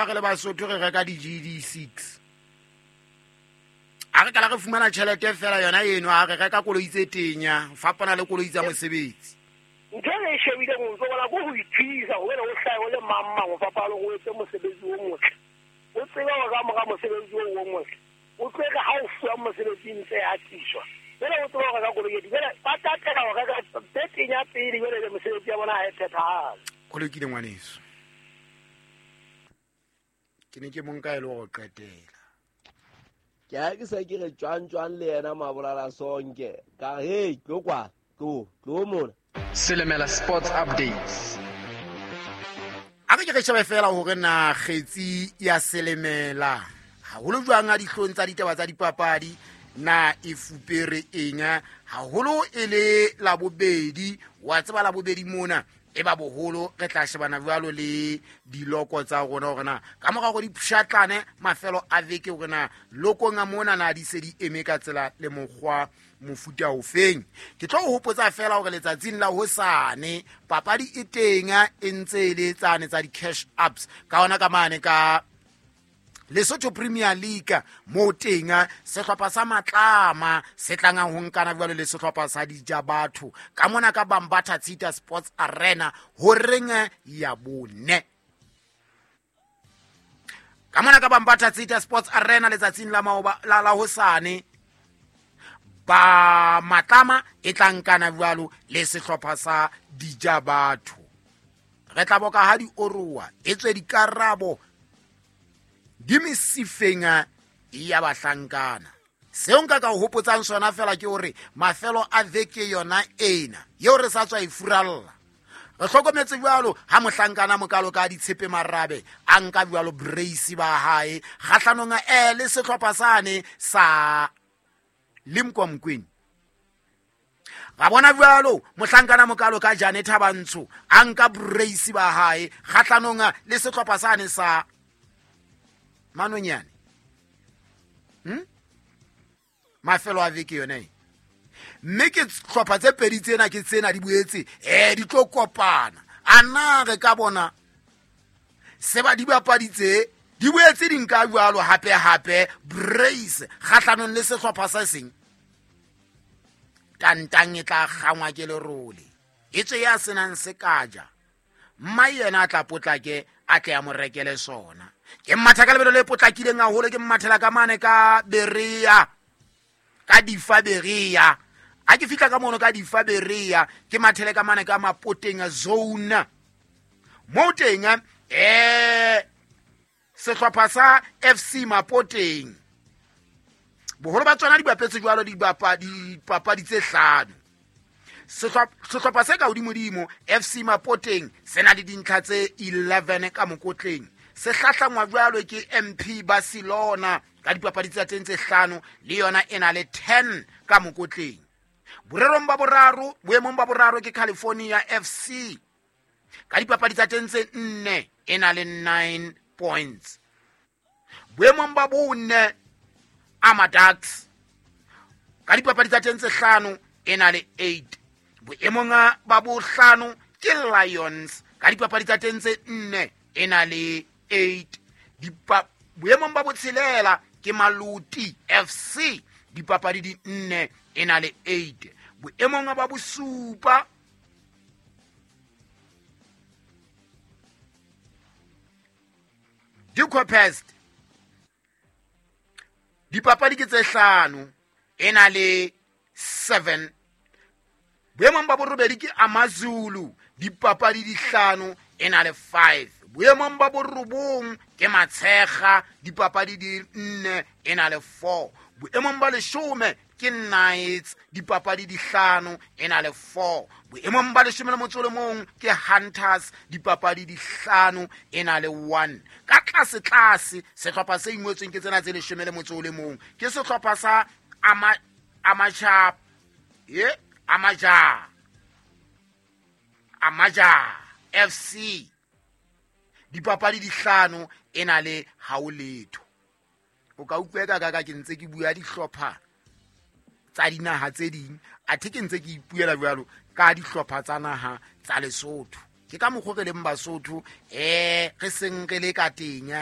Ha re le Basotho re reka di-GD6, a re kala re fumana tjhelete fela yona eno, a re reka koloi tse tenya ho fapana le koloi tsa mosebetsi. Ntho e re e shebileng o ntso bona ko ho ithisa hobane o hlahe o le mang mang ho fapana le hore o etse mosebetsi o motle. O tsebe hore ka mora mosebetsi oo o motle, o tlo re ha o fuwa mosebetsi ntse e atiswa. Jwale o tsebe ho reka koloi e jwale ba tatela ho reka tse tenya pele, jwale le mosebetsi ya bona ha e phethahale. Ho lokile ngwaneso, ke ne ke monka e le go qetela. Ke ha ke se ke re tjwang tjwang le yena Mabolala Sonke ka re hey tlo kwa tlo tlo mona. Selemela Sports Updates. A re ke re shebe fela hore na kgetsi ya Selemela haholo jwang a dihlong tsa ditaba tsa dipapadi na e fupere eng, haholo e le Labobedi. Wa tseba Labobedi mona e ba boholo re tla shebana jwalo le diloko tsa rona hore na ka mora hore di pshatlane mafelo a veke hore na lokong a mona na di se di eme ka tsela le mokgwa mofuta ofeng. Ke tlo o hopotsa fela hore letsatsing la hosane papadi e teng e ntse e le tsane tsa di-cash ups ka ona ka mane ka Lesotho Premier League, mo teng sehlopha sa Matlama se tlang ho nkana jwalo le sehlopha sa Dijabatho ka mona ka Bambatha Tshita Sports Arena horeng ya bone. Ka mona ka Bambatha Tshita Sports Arena letsatsing la maoba la la hosane ba Matlama e tla nkana jwalo le sehlopha sa Dijabatho. Re tla boka ha di oroa e tswe dikarabo di mesifeng ya bahlankana. Seo nka ka o hopotsang sona fela ke hore mafelo a veke yona ena eo re sa tswa e furalla, re hlokometse jwalo ha mohlankana mokalo ka Ditshepe Marabe a nka jwalo brace ba hae kgahlanong le sehlopha sane sa Limkwa Mokwena. Ra bona jwalo mohlankana mokalo ka Jane Thabantsho a nka brace ba hae kgahlanong le sehlopha sane sa Manonyane. Mafelo a veke yona e. Mme ke hlopha tse pedi tsena ke tsena di boetse di tlo kopana. A na re ka bona se ba di bapadi tse di boetse di nka jwalo hape hape brace kgahlanong le sehlopha se seng. Tantang e tla kgangwa ke lerole. E tswe ya senang sekaja. Mma yena a tla potlake a tle a mo rekele sona. Ke mmatha ka lebelo le potlakileng haholo, ke mmathela ka mane ka Berea. Ka Difa Berea. Ha ke fihla ka mono ka Difa Berea, ke mathele ka mane ka Mapoteng zone. Moo teng, sehlopha sa FC Mapoteng. Boholo ba tsona di bapetse jwalo dipapadi tse hlano. Sehlopha se ka hodimodimo FC Mapoteng se na le dintlha tse 11 ka mokotleng. Se hlahlangwa jwalo ke MP Barcelona ka dipapadi tsa teng tse hlano, le yona e na le 10 ka mokotleng. Borerong ba boraro, boemong ba boraro ke California FC ka dipapadi tsa teng tse nne, e na le 9 points. Boemong ba bone Amaducks ka dipapadi tsa teng tse hlano, e na le 8. Boemong ba bohlano ke Lions ka dipapadi tsa teng tse nne, e na le 8. Boemong ba botshelela ke Maluti FC dipapadi di nne, e na le 8. Boemong ba bosupa Dikopest dipapadi ke tse hlano, e na le 7. Boemong ba borobedi ke Amazulu dipapadi di hlano, e na le 5. Boemong ba borobong ke Matshekga dipapadi di nne, e na le 4. Boemong ba leshome ke Knights dipapadi di hlano, e na le 4. Boemong ba leshome le motso o le mong ke Hunters dipapadi di hlano, e na le 1. Ka tlase tlase sehlopha se ingwetsweng ke tsena tse leshome le motso o le mong ke sehlopha sa Amaja, Amaja, Amaja FC dipapadi di hlano, e na le hao letho. O ka utlwa ka ka ke ntse ke bua dihlopha tsa dinaha tse ding, athe ke ntse ke ipuela jwalo ka dihlopha tsa naha tsa Lesotho. Ke ka mokgwa re leng Basotho, re seng re le ka teng.